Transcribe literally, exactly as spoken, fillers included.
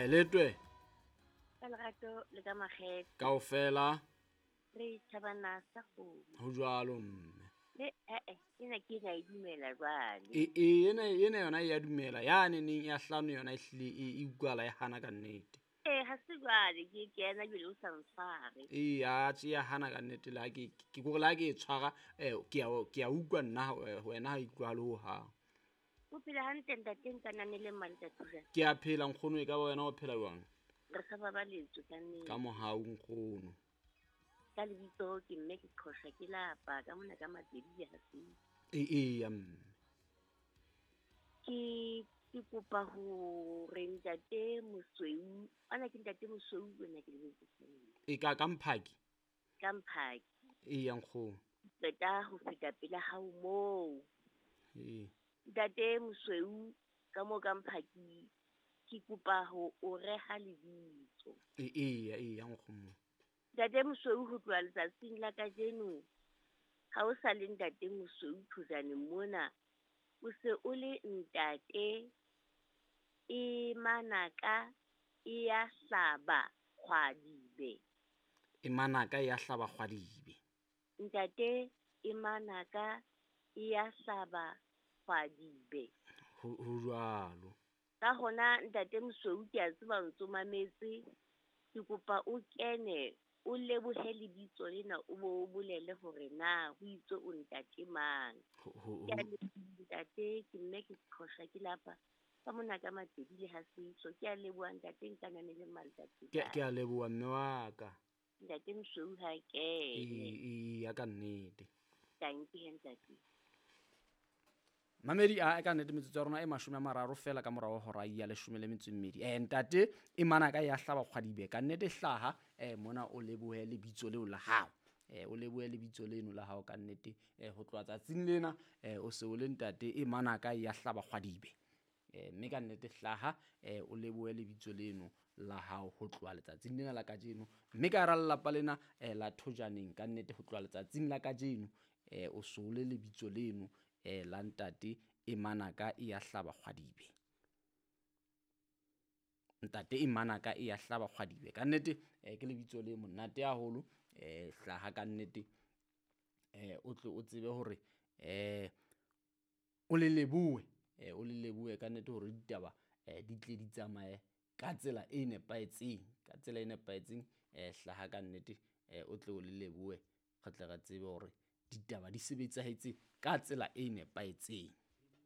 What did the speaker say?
Aeletwe. Ka lerato le ka makgethe. Kaofela. Re tjhabana sa kgomo. Ho jwalo mme. Le eh eh ena ke ena e dumela jwale. E e ena ena yona e ya dumela. Ya neneng ya hlano yona e hlile e e utlwala e hana ka nnete. Eh ha se jwale ke kena jwale o sa ntshware. E ya tje ya hana ka nnete la ke ke gore la ke e tshwara eh ke ya ke ya utlwa nna wena ha e utlwahale ho hang. O phela hantle ntate nkananele mmaletsatsi jwang? Ke a phela nkgono e ka ba wena o phela jwang? Re sa babaletswe ka nnete. Ka mohau nkgono. Ka lebitso ke mme ke qhosha ke lapa ka mona ka Mapedi ha se. E e ya mme. Ke ke kopa hore ntate Mosweu, ana ke ntate Mosweu wena ke lebitso. E ka ka Mphaki. Ka Mphaki. E ya nkgono. Qeta ho feta pela hao moo. E. Ntate Mosweu ka mo ka Mphaki ke kopa ho o reha lebitso. E e ya e ya nkgono. Ntate Mosweu ho tloha letsatsing la kajeno ha o sa le ntate Mosweu Thojane mona o se o le ntate e manaka e ya hlaba kgwadibe. E manaka e ya hlaba kgwadibe. Ntate e manaka e ya hlaba kgwadibe. Ho ho jwalo. Ka hona ntate Mosweu ke a tseba o ntso mametse ke kopa o kene o lebohe lebitso lena o bo o bolele hore na ho itse o ntate mang. Ho Ke a leboha ntate ke mme ke qhosha ke lapa ka mona ka Mapedi le ha setso. Ke a leboha ntate nkananele mmaletsatsi. Ke ke a leboha mme wa ka. Ntate Mosweu ha kene. E e ya ka nnete. Tanki he ntate. Mamedi a ka nnete metsotso ya rona e mashome a mararo fela ka morao hora ya leshome le metso e mmedi. Eh ntate e manaka ya hlaba kgwadibe ka nnete hlaha eh mona o lebohe lebitso leo la hao. Eh o lebohe lebitso leno la hao ka nnete eh ho tloha tsatsing lena eh o se o le ntate e manaka ya hlaba kgwadibe. Eh mme ka nnete hlaha eh o lebohe lebitso leno la hao ho tloha letsatsing lena la kajeno. Mme ka hara lelapa lena eh la Thojaneng ka nnete ho tloha letsatsing la kajeno eh o se o le lebitso leno eh la ntate e manaka e ya hlaba kgwadibe. Ntate e manaka e ya hlaba kgwadibe ka nnete eh ke lebitso le monate haholo eh hlaha ka nnete eh o tle o tsebe hore eh o le lebohe eh o le lebohe ka nnete hore ditaba eh di tle di tsamaye ka tsela e nepahetseng ka tsela e nepahetseng eh hlaha ka nnete eh o tle o le lebohe re tle re tsebe hore ditaba di sebetsahetse ka tsela e nepahetseng.